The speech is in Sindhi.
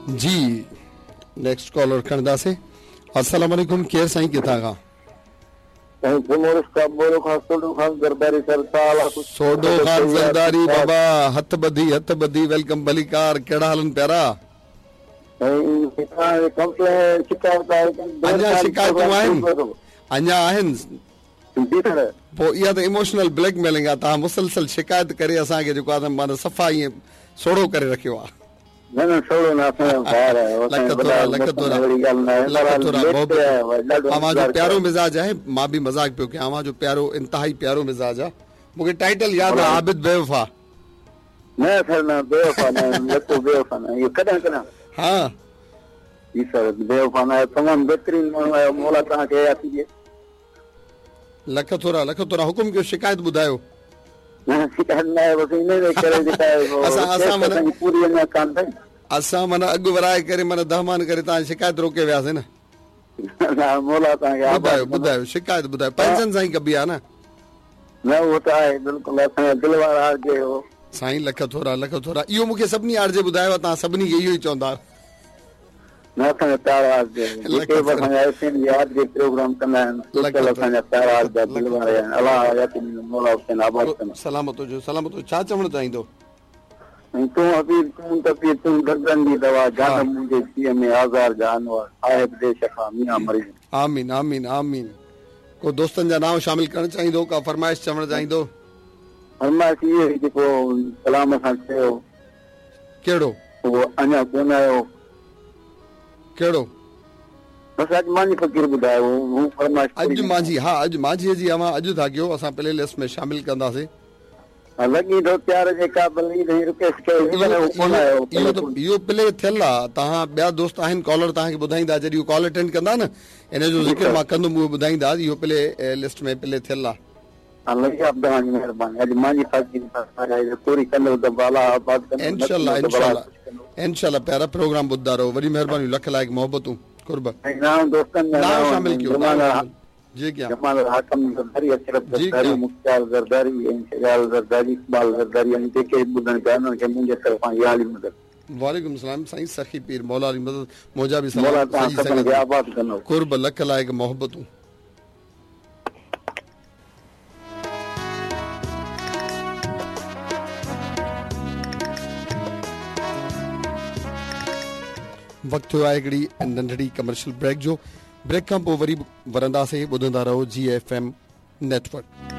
جي نيڪسٽ ڪالر کڻنداسين. السلام عليڪم ڪير سائين ڪٿان کان؟ سائين سمورو اسٽاف مورو کان سوڍو خان زرداري سر ڇا حال آ خوش سوڍو خان زرداري بابا هٿ ٻڌي هٿ ٻڌي welcome ڀليڪار ڪهڙا حالن پيارا. سائين توهان جي ڪمپلين شڪايت آهي اڃا شڪايتون آهن اڃا آهن جي سر. پوء اها ته ايموشنل بليڪ ميلنگ آ توهان مسلسل شڪايت ڪري اسان کي جيڪو آ ته معنيٰ صفا ائين سوڙهو ڪري رکيو آ. نه نه سوڙهو نه اسان جا ڀائر آهيو اسان جا وڏا لک ٿورا اهڙي ڳالهه نه آهي لک ٿورا محبت اوهان جو پيارو مزاج آهي مان به مذاق پيو ڪيان اوهان جو پيارو انتهائي پيارو مزاج آ مون کي ٽائيٽل ياد آ عابد بيوفا. نه سر نه بيوفا نه لکو بيوفا نه اهو ڪڏهن ڪڏهن ها. جي سر بيوفا نه آهيو تمام بهترين ماڻهو آهيو مولا توهان کي حياتي ڏي. لک ٿورا لک ٿورا حڪم ڪيو شڪايت ٻڌايو. نه شڪايت نه آهي بس انهي جي ڪري جيڪا اسان اسان معنيٰ پوري اڃا ڪانه ٿي. اسان معنيٰ اڳ ورائي ڪري معنيٰ دهمان ڪري توهان جي شڪايت روڪي وياسين نه. نه مولا توهان کي آباد ٻڌايو ٻڌايو شڪايت ٻڌايو پئسن سان ئي ڪبي آ نه. نه اهو ته آهي بلڪل اسان جا دل وارا آر جي هو. سائين لک ٿورا لک ٿورا اهو مون کي سڀني آر جي ٻڌايو آ توهان سڀني کي اهو ئي چوندا. نه اسان جا پيارا آر جي جيڪي به اسان جا ايف ايم جي آر جي پروگرام ڪندا آهن بلڪل اسان جا پيارا آر جا دل وارا آهن الله حياتي ڏيندو مولا حسين آباد ڪندو. سلامت هجو سلامت هجو ڇا چوڻ چاهيندو. سائين تون حبيب تون طبيب تون دردن جي دوا جانب منهنجي جيء ۾ آزار جا انوار صاحب ديش کان ميان مريض. آمين آمين آمين ڪو دوستن جا نانء شامل ڪرڻ چاهيندو ڪا فرمائش چوڻ چاهيندو. فرمائش اهي هئي جيڪو ڪلام اسان چيو. ڪهڙو؟ اهو اڃا ڪونه آيو. ڪهڙو؟ بس اڄ مانجهي فقير ٻڌايو هو فرمائش پوري اڄ مانجهي ها اڄ مانجهي جي اوهان اڄ ٿا ڪيو اسان پلي لسٽ ۾ شامل ڪنداسين. لڳي ٿو پيار جي قابل عيد ۽ رڪيش ڪيو هي پر اهو ڪونه آيو اهو ته اهو پلي ٿيل آ توهان ٻيا دوست آهن ڪالر توهان کي ٻڌائيندا جڏهن اهو ڪال اٽينڊ ڪندا نه ان جو ذڪر مان ڪندم اهي ٻڌائيندا اهو پلي لسٽ ۾ پلي ٿيل آ. الله صاحب توهان جي مهرباني اڄ مانجهي فقير فرمائش پوري ڪندو ته الله آباد ڪندو انشاء الله انشاء الله انشاء الله پيارا پروگرام ٻڌندا رهو وڏي مهرباني لک لائق محبتون قرب ۽ نانء دوستن جا نانء شامل ڪيو جي ڪيا جمال حاڪم زرداري اشرف زرداري مختيار زرداري ۽ سجال زرداري اقبال زرداري ۽ جيڪي به ٻڌن پيا انهن کي منهنجي طرفان يا علي مدد. وعليڪم السلام سائين سخي پير مولا علي مدد منهنجا به سلام سڄي سنگت کي آباد ڪندو قرب لک لائق محبتون. وقت ٿيو آهي هڪڙي ننڍڙي ڪمرشل بريڪ جو بريڪ کان پوء وري ورنداسين ٻڌندا رهو جي ايف ايم نيٽ ورڪ.